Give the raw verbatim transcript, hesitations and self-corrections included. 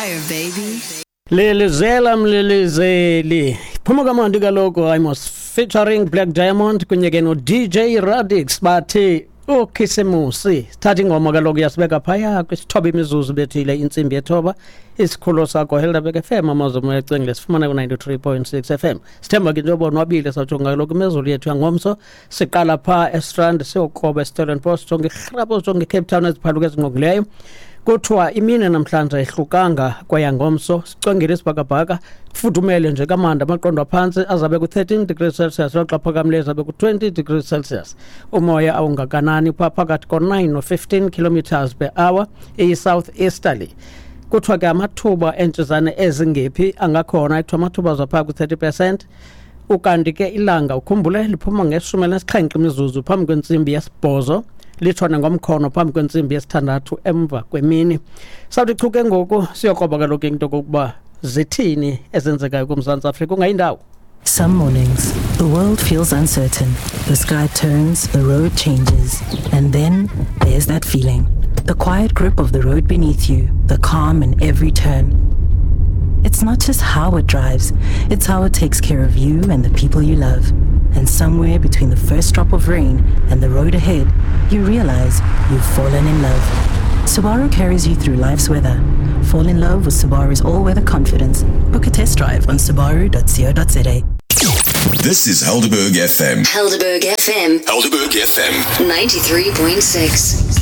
Fire, baby. Lilizela mlilizeli. Phuma kamandi kaloku Imos featuring Black Diamond kunye ke no D J Radix, bathi uKhisimusi. Sithatha ingoma kaloku yasibeka phaya kwisithoba imizuzu bethile intsimbi yethoba. Isikhululo sakho Helderberg F M, amazwi omoya ecengile, sifumana ku-ninety-three point six F M. Sithemba ke njengoba onwabile. Sawujonga kaloku imezulu yethu yangomso. Siqala phaa eStrand, siyokroba eStellenbosch, jonge iRhapo, jonge iCape Town, eziphaluka ezingqongileyo. Kuthiwa imini namhlanje ayihlukanga kweyangomso, sicwengile isibhakabhaka, kufudumele nje kamandi. Amaqondo aphantsi azabe ku-thirteen degrees Celsius, loxa phakamileyo azabe ku-twenty degrees Celsius. Umoya awungakanani, phaa phakathi ko-nine no-fifteen kilometers per hour, iyi-south easterly. Kuthiwa ke amathuba entshizane ezingephi angakhona, kuthiwa amathuba azaphaa ku-thirty percent. Ukanti ke ilanga, ukhumbule, liphuma ngeshumi elinesixhenxe imizuzu phambi kwentsimbi yesibhozo, litshone ngomkhono phambi kwentsimbi yesithandathu emva kwemini. Sawuthi chu ke ngoku siyokroba kaloku into kokuba zithini ezenzekayo kuMzantsi Afrika, ungayindawo. Some mornings, the world feels uncertain. The sky turns, the road changes, and then there's that feeling. The quiet grip of the road beneath you, the calm in every turn. It's not just how it drives, it's how it takes care of you and the people you love. And somewhere between the first drop of rain and the road ahead, you realize you've fallen in love. Subaru carries you through life's weather. Fall in love with Subaru's all-weather confidence. Book a test drive on subaru dot co dot za. This is Helderberg F M. Helderberg F M. Helderberg F M. ninety-three point six.